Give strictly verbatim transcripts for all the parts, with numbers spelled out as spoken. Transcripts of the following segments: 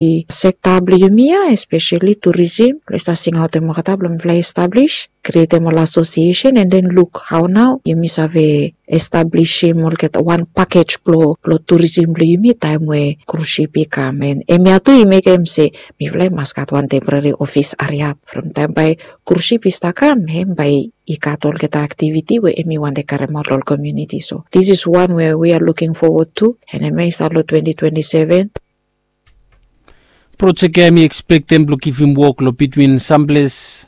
sekta blong yumi ya, espeseli turisim, blong i stap singaotem olgeta blong mifala i establis, krietem ol asosiesen, and then luk hao nao yumi save establisim olgeta wan pakej blong blong turisim blong yumi taem we krusip i kam. And hemia tu i mekem se mifala i mas gat wan temporari ofis hariap from taem bae krusip i stap kam, hem bae i gat olgeta aktiviti we hemi wantem karemaot long ol komuniti. So this is one we we are looking forward to, and hemia i stap long twenty twenty-seven. Projek ya hemi ekspektem blong givim wok long bitwin samples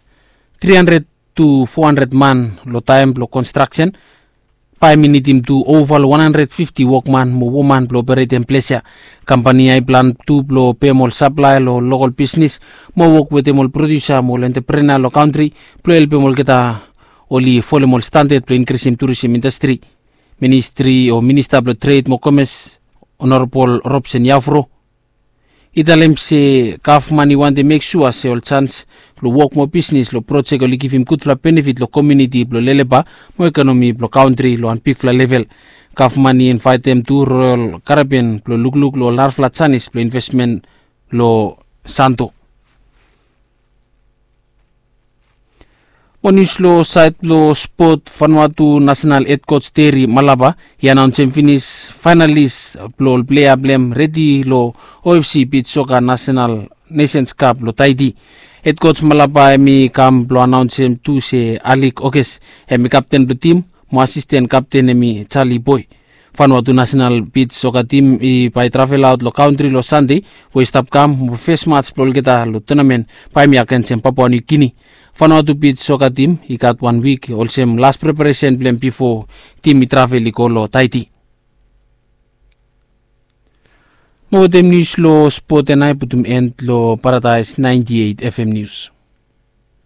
tri handred tu fo handred man long taem blong konstraksen. Bae hemi nidim tu ova long wan handred fifti wokman mo woman blong operetem ples ya. Kampani ya i plan tu blong pem ol saplaea long lokol bisnis mo wok wetem ol prodiusa mo ol entreprenua long kantri blong helpem olgeta oli folem ol standad blong inkrisim turisim indastri. Ministri o minista blong tred mo komes, Honorabol Robson Yafro, i talem se gavman i wantem mek sua se ol jans blong wok mo bisnis long projek oli givim gudfala benefit long komuniti blong Lelepa mo ekonomi blong kantri long wan bigfala level. Gavman i invaetem tu Royal Caribbean blong lukluk long ol narafala janis blong invesmen long Santo. Mo nius long saed blong spot, Vanuatu nasenal hed koj Terry Malapa i anaonsem finis faenalis blong ol plea blong hem redi long O F C bij soka nasenal Nations Cup long Tahiti. Hed koj Malapa hemi kam blong anaonsem tu se Alik Okes hemi kapten blong tim mo asisten kapten hemi Charlie Boy. Vanuatu nasenal bij soka tim i bae i travelaot long kantri long Sande we i stap kam mo fes mats blong olgeta long tunamen bae hemi agensem Papua Niu Gini. Vanuatu bij soka tim i gat wan wik olsem las preparesen blong hem bifo tim i travel i go long Tahiti. Mo wetem nius long spot ya nao i putum en long Paradaes naenti eit F M Nius.